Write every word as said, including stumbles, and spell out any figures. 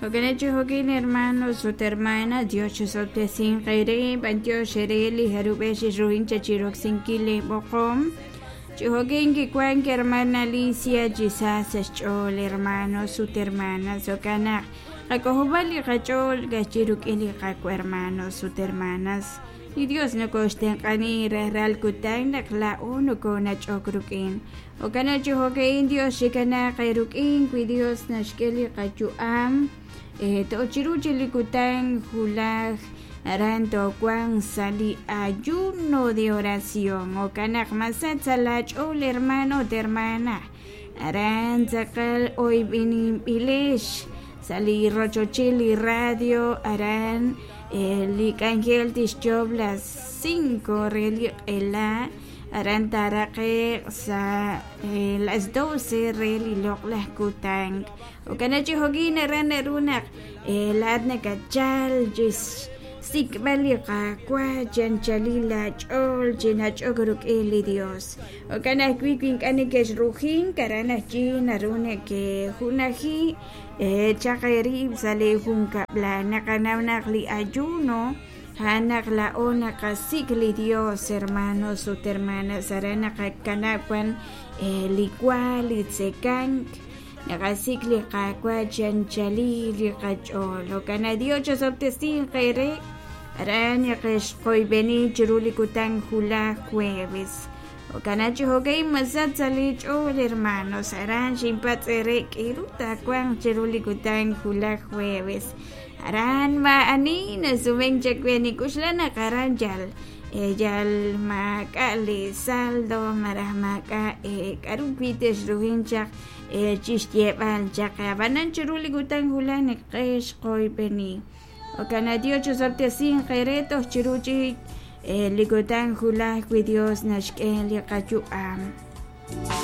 Jo'kan chi jo'kin hermanos ut hermanas, Dios chisob'tesinq eere, b'antiox eere li jarub'ej xixruhin cha chiroksinkil li b'oqom. Chi jo'kin kiwank hermana Alicia chi sa sa' xch'ool hermanos ut hermanas, jo'kan naq qak'ojob'a li qach'ool ka'ajwi' rik'in li Qaawa' hermanos ut hermanas. Li Dios nokoxtenq'ani rajlal kutan naq laa'o nokonach'ok rik'in. Jo'kan chi jo'ka'in Dios xikanaaq eerik'in wi Dios naxk'e li qayu'am eh, to'chiru chi li kutan wulaj aran towanq sa' li ayuno de oración. Jo'kan naq masach sa' laach'ool hermano ut hermana. Aran tz'aqal oyb'eninb'ilex sa' li rochochil li radio aran eh, li k'anjel tixyob las cinco re li q'ela aran taaraqe'q sa' eh, las doce re li loq'laj kutan. Jo'kan chi jo'kin aran naru naq eh, laat nakachal chis sikb'al li Qaawa' chi anchalil laach'ool chi nach'ok rik'in li Dios. Jo'kan ajwi' wi ink'a' neke'xrujink aran ajwi' naru neke'junaji eh, chaq eerib' sa' li junkab'lal. Naqanaw naq li ayuno a'an naq laa'o naqasik' li Dios, hermanos ut hermanas, aran naqakanab' wan eh, li wa, li tzekank, naqasik' li Qaawa' chi anchalil li qach'ool. Jo'kan naq Dios chisob'tesinq eere aran naqexqoyb'eni chiru li kutan wulaj jueves. Jo'kan chi jo'ka'in masach sa' li ch'ool hermanos, aran xinpatz' eere k'eru taawanq chiru li kutan wulaj jueves. Aran maa'ani nasumenk chawe nik'uxla naq aran yal eh, yal maak'a' li saldo malaj maak'a' eh, k'aru wi' texrujin chaq eh, chixyeeb'al chaq ab'anan chiru li kutan wulaj naqexqoyb'eni. Jo'kan naq Dios chisob'tesinq eere toj chiru chik eh, li kutan wulaj wi Dios naxk'e li qayu'am.